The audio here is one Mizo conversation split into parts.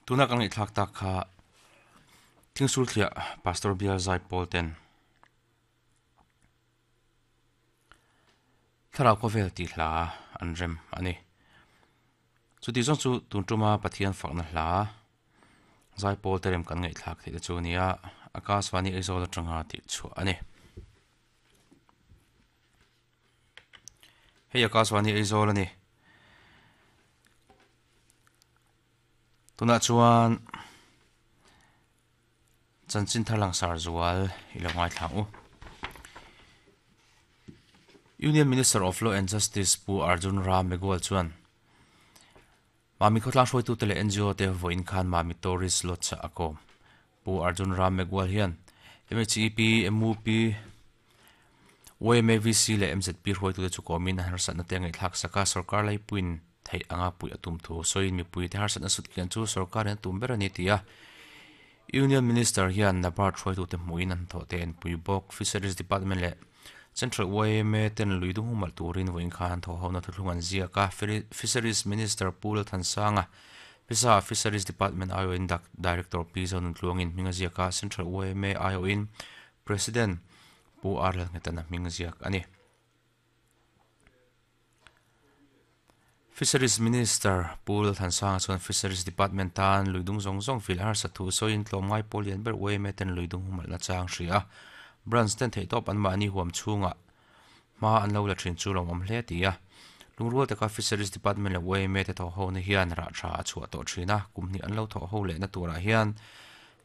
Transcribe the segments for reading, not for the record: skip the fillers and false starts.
Tuna kan ngaihthlak tak kha Thingsul thliah Pastor Bial Zai Pawl ten Thlarau khawvel tih hla an rem a ni. Chuti zawng chu tun tuma Pathian fakna hla Zai Pawl te rem kan ngaihthlak theih te chu a ni a, Akasvani Aizawl atanga tih chhuah a ni. Hei Akasvani Aizawl a ni. Tunah chuan chanchin thar langsar zual i lo ngaithla ang u. Union Minister of Law and Justice Pu Arjun Ram Meghwal chuan Mami khawtlang hruaitute leh NGO te vawiin khan Mami Tourist Lodge a kawm. Pu Arjun Ram Meghwal hian MHEP, MUP, YMAVC leh MZP hruaitute chu kawmin a harsatna te a ngaihthlak sak a, sorkar laipuiin theih anga puih a tum thu sawiin mipuite harsatna sut kian chu sorkarin a tum ber a ni ti a Union Minister hian NABARD hruaitute hmuhin an hnathawh te a enpui bawk. Fisheries Department leh Central YMA ten lui dung humalh turin vawiin khan an thawhhona thuthlung an ziak a, Fisheries Minister Pu Lalthansanga Pisa Fisheries Department aiawhin Director Pi Zonuntluangin hming a ziak a, Central YMA aiawhin President Pu R Lalnghetana hming ziak a ni. Fisheries Minister Pu Lalthansanga chuan Fisheries Department tan lui dung zawng zawng fil harsa thu sawiin tlawmngai pawl lian ber YMA ten lui dung humalhna chang hria a, Branch ten theihtawp anmahni huam chhungah hma an lo la thin chu lawmawm hle a ti a. Lungrual taka Fisheries Department leh YMA te thawhhona hian rah tha a chhuah tawh thin a, kum hnih an lo thawhho lehna turah hian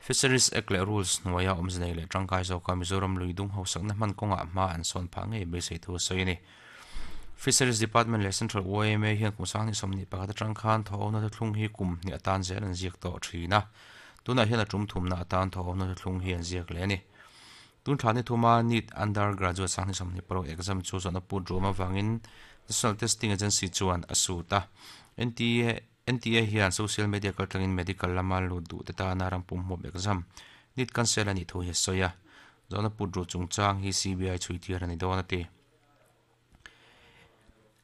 Fisheries Act leh Rules hnuaia awmze nei leh tangkai zawka Mizoram lui dung hausakna hman kawngah hma an sawn phah ngei beisei thu a sawi a ni. Fisheries Department leh Central YMA hian kum 2021 atang khan thawhawmna thuthlung hi kum hnih atan zel an ziak tawh thin a, tunah hian a tum thumna atan thawhawmna thuthlung hi an ziak leh a ni. Tun thla ni thuma NEET Under Graduate 2026 exam chu zawhna put ruam avangin National Testing Agency chuan a sut a, NTA NTA hian social media kaltlangin medical lama lut duh te tana ram pumhmuap exam NEET cancel a nih thu hi a sawi a, zawhna put ruh chungchang hi CBI chhui tir a ni dawn a ti.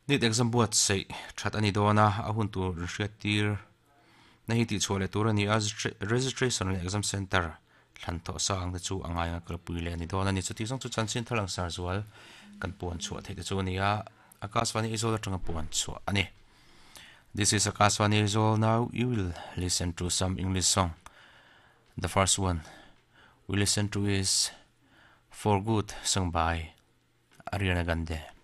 NEET exam buatsaih that a ni dawn a, a hun tur hriat tir na hi tihchhuah leh tur a ni a, registration leh exam center thlan tawh sa ang te chu a ngai anga kalpui leh a ni dawn a ni. Chuti zawng chu chanchin thar langsar zual kan puan chhuah theih te chu a ni a, Akashvani Aizawl atanga puan chhuah a ni. This is Akashvani Aizawl now you will listen to some English song. The first one we listen to is For Good sung by Ariana Grande.